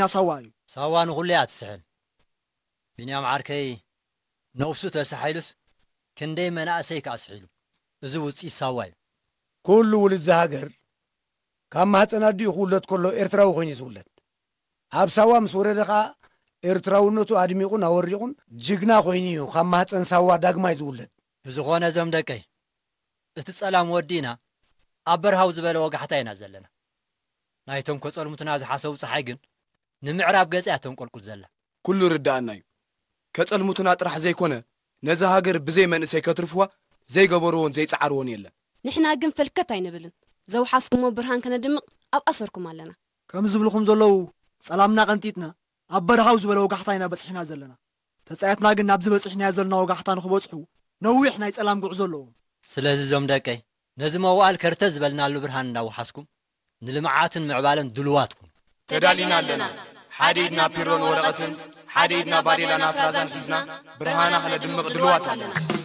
ናሳዋ እዩ። ሳዋ ንኹሉ እያ ትስሕል። ቢንያም ዓርከይ ነብሱ ተሳሒሉስ ክንደይ መናእሰይ ከኣ ስሒሉ። እዚ ውፅኢት ሳዋ እዩ። ኩሉ ውሉድ ዝሃገር ካብ ማህፀን ኣዲኡ ክውለድ ከሎ ኤርትራዊ ኮይኑ እዩ ዝውለድ። ኣብ ሳዋ ምስ ወረደ ከኣ ኤርትራውነቱ ኣድሚቑን ኣወሪቑን ጅግና ኮይኑ እዩ ካብ ማህፀን ሳዋ ዳግማይ ዝውለድ። ብዝኾነ እዞም ደቀይ እቲ ጸላም ወዲእና ኣብ በርሃው ዝበለ ወጋሕታ ኢና ዘለና። ናይቶም ከጸልሙትና ዝሓሰቡ ጸሓይ ግን ንምዕራብ ገጽ እያ ተንቆልቁል ዘላ። ኩሉ ርዳኣና እዩ። ከጸልሙትና ጥራሕ ዘይኮነ ነዛ ሃገር ብዘይ መንእሰይ ከትርፍዋ ዘይገበርዎን ዘይጸዓርዎን የለን። ንሕና ግን ፈልከት ኣይንብልን። ዘውሓስኩሞ ብርሃን ከነድምቕ ኣብ ኣሰርኩም ኣለና። ከም ዝብልኹም ዘለዉ ጸላምና ቀንጢጥና ኣብ በርሃው ዝበለ ወጋሕታ ኢና በጺሕና ዘለና። ተጻየትና ግን ናብዚ በጺሕናዮ ዘለና ወጋሕታ ንኽበጽሑ ነዊሕ ናይ ጸላም ጉዕዞ ኣለዎም። ስለዚ እዞም ደቀይ ነዚ መዋእል ከርተት ዝበልናሉ ብርሃን እንዳወሓስኩም ንልምዓትን ምዕባለን ድሉዋት ኩኑ። ተዳሊና ኣለና። ሓደ ኢድና ፒሮን ወረቐትን ሓደ ኢድና ባዴላን ኣፍራዛን ሒዝና ብርሃና ክነድምቕ ድሉዋት ኣለና።